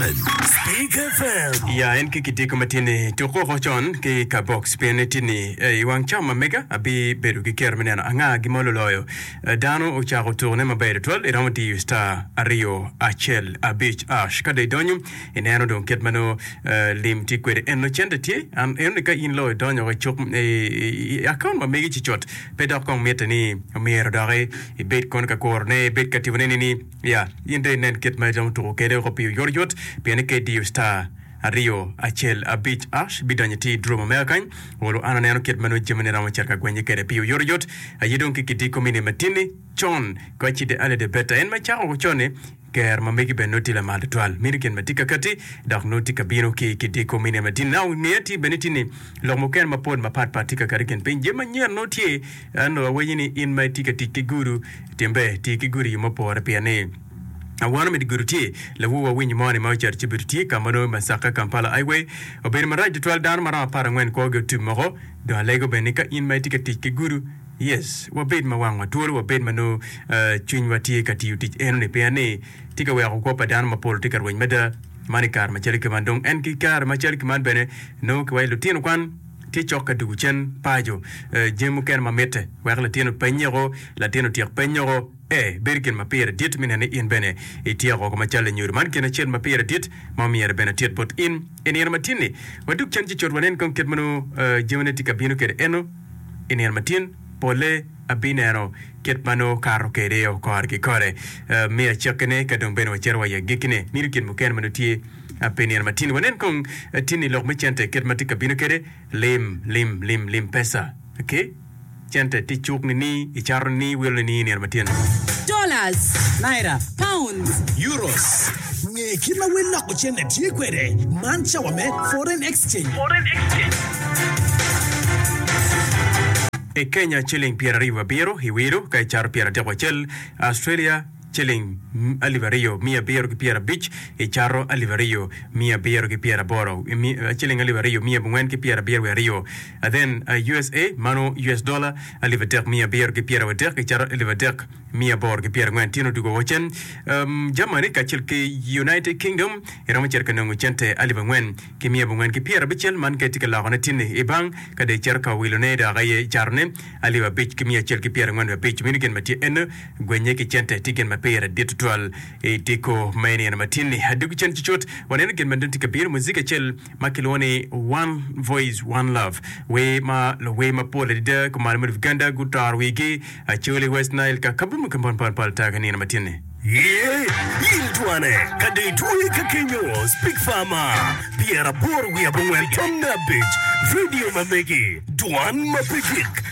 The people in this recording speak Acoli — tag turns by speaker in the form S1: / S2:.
S1: Speak FM.
S2: Ya en ki kitiko ma tye-ni tuk woko con ki ka box pien ni tye-ni i wang cawa ma mega abi bedo ki kero me neno anga gi ma oluloyo. Dano ocako tukone maber tutwal iromo diyo star aryo acel abic ash ka dong idonyo ineno dong kit ma nongo lim tye kwede eno cente tye an eno ni ka in loyo idonyo i cuk i akaunt ma megi ci cut pe dok kong mitte ni myero doki ibed kono ka kurone ibed ka timone ni ni Ya, in dong inen kit ma iromo tuko kwede woko pi oyotoyot, pien ni ka idiyo star aryo acel abic ash, bidonyo iti i draw ma mega kany. Olo an aneno kit ma nongo jamine romo cito ka gwenye kwede pi oyotoyot. Aye dong ki kidiko mine matinni con, koci the earlier the better. En ma icako woko con-ni, ker ma megi bene nongo tye lamal tutwal. Meno gin ma tye ka katti, dok nongo tye ka bino ki kidiko mine matinni. Now, ngeya tye bene tye ni lok mukene mapol mapat pat tye ka kati i kin piny. Jami manyen nongo tye. Ento awinyo ni in ma itye ka tic ki gudo, tim ber, ti ki gudo i yo mupore pien ni awano me di gudo tye. Lawor wa winyo mo ni ma ocito ci obedo tye ka ma nongo Masaka Kampala Highway obedo marac tutwal dano ma romo 14 kwogi otum woko. Dong alego bene ni ka in ma itye ka tic ki gudo, yes, wabed ma wangwa twolo, wabed ma nongo cwinywa tye ka tiyo tic eno ni pien ni tye ka weko kwo pa dano mapol tye ka rweny mada. Man i kare macalo ki man dong en ki kare macalo ki man bene nongo kiwaco lutino kwan tye cok ka dugo cen paco, jami mukene ma mitte wek latin openyeko, latin otyek penyeko. Ee, bedo gin ma pire dit me neno ni in bene ityeko woko macalo lanyodo. Man gin acel ma pire dit ma omyero bene atit bot in i nino matin-ni. Wadug cen ci cut wanen kong kit ma nongo jamine tye ka bino kwede eno i nino matin. Polle abineno kit ma nongo kato kwede kore ki kore. Me acakkine ka dong bene wacito wa i agikkine, mito gin mukene ma nongo tye Pi nino ma tin, wanen kong tin i lok me cente kit ma tye ka bino kwede. Lim, lim, lim, lim pesa. Ok, cente tye i cuk nini, icato nini, iwilo nini i nino ma tin.
S3: Dollars.
S4: Naira.
S3: Pounds.
S1: Euros. Nge kit ma wel loko cente tye kwede. Man cawa me Foreign Exchange.
S2: I Kenya ciling 27 iwilo ka icato 31. Australia. ciling 2,750 i Cato 2,780, ciling 2,472, then usa mano US dollar 3,730 i Cato 3,840. Tyen odwogo woko cen Germany kacel ki United Kingdom iromo cito ka nongo cente 4,490 man ka itye ka lokone tinni i bank ka dong icito ka wilone dok aye icatone 5,145. Meno gin ma tye eno. Gwenye ki cente tye gin ma pire dit tutwal i diko me nino matin-ni. Adwogi cen cucut, waneno gin ma dong tye ka bino, muzik acel ma kilwongo ni One Voice One Love, wer ma luwer mapol adada kumalo me Uganda gutoro wigi, Acholi, West Nile, ka kabedo mukene mapol ata ki nino matin-ni.
S1: Ye, in twane, ka dong itwoye ka kenyo, Speak Farmer, 85.5, Radio ma megi, dwan ma pe gik.